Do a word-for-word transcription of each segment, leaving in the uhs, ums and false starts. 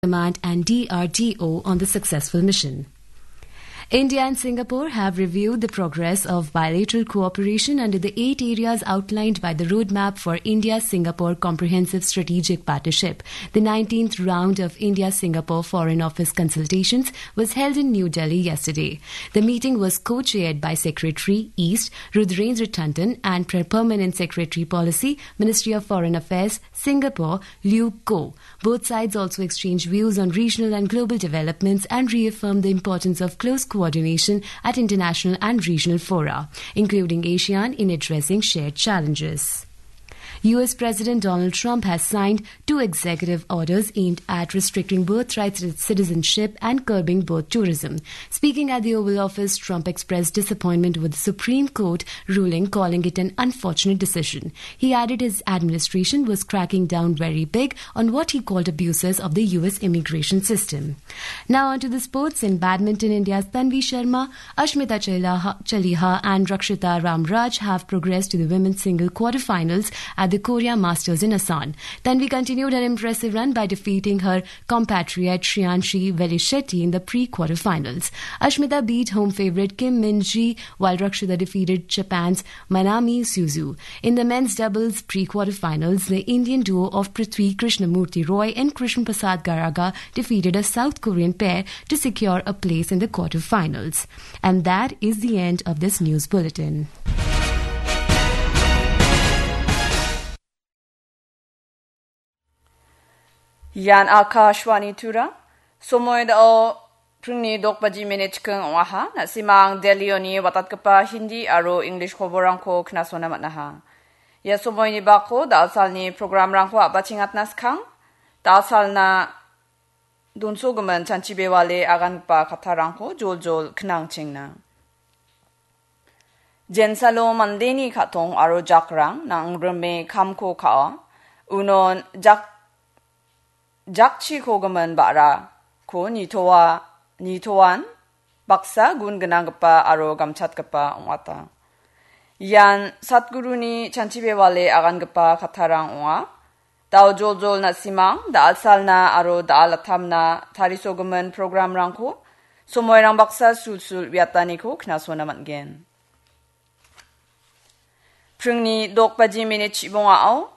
Command and D R D O on the successful mission. India and Singapore have reviewed the progress of bilateral cooperation under the eight areas outlined by the Roadmap for India-Singapore Comprehensive Strategic Partnership. The nineteenth round of India-Singapore Foreign Office consultations was held in New Delhi yesterday. The meeting was co-chaired by Secretary East Rudrendra Tandon and Pre-, Permanent Secretary Policy, Ministry of Foreign Affairs, Singapore, Liu Ko. Both sides also exchanged views on regional and global developments and reaffirmed the importance of close coordination at international and regional fora, including ASEAN, in addressing shared challenges. U S President Donald Trump has signed two executive orders aimed at restricting birthright citizenship and curbing birth tourism. Speaking at the Oval Office, Trump expressed disappointment with the Supreme Court ruling, calling it an unfortunate decision. He added his administration was cracking down very big on what he called abuses of the U S immigration system. Now on to the sports. In badminton, India's Tanvi Sharma, Ashmita Chaliha, Chaliha and Rakshita Ramraj have progressed to the women's single quarterfinals at the Korea Masters in Asan. Tanvi continued her impressive run by defeating her compatriot Shreyanshi Velishetty in the pre-quarterfinals. Ashmita beat home favourite Kim Min-ji, while Rakshita defeated Japan's Manami Suzu. In the men's doubles pre-quarterfinals, the Indian duo of Prithvi Krishnamurti Roy and Krishna Prasad Garaga defeated a South Korean pair to secure a place in the quarterfinals. And that is the end of this news bulletin. Ian Akashvani Tura. Somoi dao pringni dok baji minit chikeng ong·aha. Na·simang Delhioni watatgipa Hindi aro English koborangko knasona man·aha. Ia somoini bako da·alsalni programrangko a·bachengatna skang. Da·alsalna donsogimin chanchi bewale agangipa kattarangko joljol knangchengna. Jensalo mandeni ka·tong aro jakrang nang·rime kamko ka·a. Unon jak-, jakchikogimin ba·rako nitoa-, nitoan baksa gun gnanggipa aro gamchatgipa ong·ata. Ian Satguruni chanchi bewale agangipa kattarang ong·a. Dao joljol na·simang, da·alsalna aro da·alatamna tarisogimin programrangko somoirang baksa sulsul uiataniko knasona man·gen. Pringni dok baji minit chibongao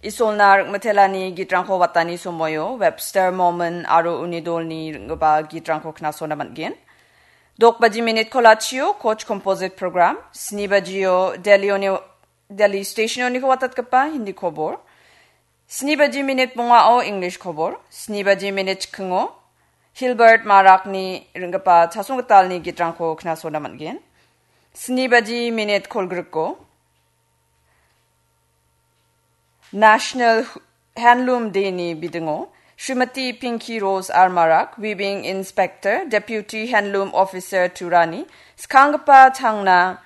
Isolna ring·mitelani gitrangko watani somoio Webster Mormon aro uni dolni ring·gipa gitrangko knasona man·gen. Dok baji minit kolachio Koch Composite Program, sni bajio Delhioni Delhi stationoniko watatgipa Hindi kobor. Sni baji minit bongao English kobor. Sni baji minit chikingo Hilbert Marakni ring·gipa chasonggitalni gitrangko knasona man·gen. Sni baji minit kolgriko National Handloom Day-ni bidingo Srimati Pinky Rose R Marak, Weaving Inspector, Deputy Handloom Officer Turani skanggipa changna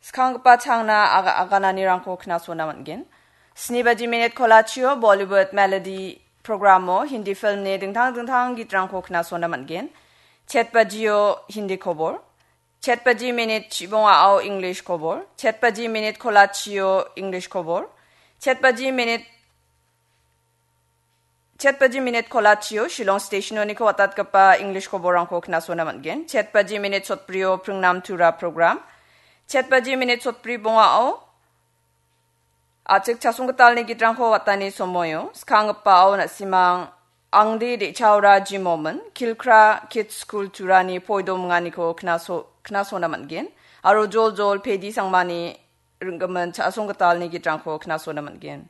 skanggipa changna aga-, agananirangko knasona man·gen. Sni baji minit kolachio Bollywood Melody programo Hindi filmni dingtang dingtang gitrangko knasona man·gen. Chet bajio Hindi kobor. Chet baji minit chibongao English kobor. Chet baji minit kolachio English kobor. Chet baji minit Chet baji minit kolachio Shillong stationoniko watatgipa English koborrangko knasona man·gen. Chet baji minit sotbrio Pringnam Tura program. Chet baji minit sotbri bongao a·chik chasonggitalni gitrangko watani somoio skanggipao na·simang angde de·chaora jimomin Kilkra Kids School Turani poidominganiko knaso-, knasona man·gen. Aro joljol pedi sangmani ring·gimin chasonggitalni gitrangko knasona man·gen.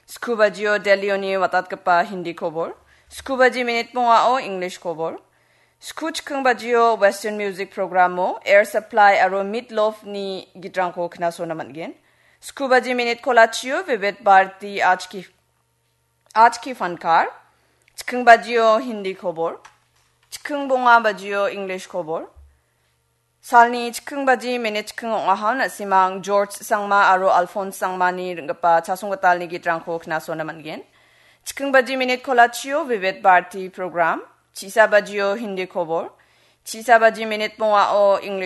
Sku bajio Delhioni watatgipa Hindi kobor. Sku baji minit bongao English kobor. Sku chiking bajio Western Music programo Air Supply aro Meat Loaf-ni gitrangko knasona man·gen. Sku baji minit kolachio Vivid Bharati Aaj Ki Aaj Ki Fankar, chiking bajio Hindi kobor, chiking bonga bajio English kobor. Salni chiking baji minit chiking ong·aha na·simang George Sangma aro Alphonse Sangmani ring·gipa chasonggitalni gitrangko knasona man·gen. Chiking baji minit kolachio Vivid Bharati program, chisa bajio Hindi kobor, chisa baji minit bongao English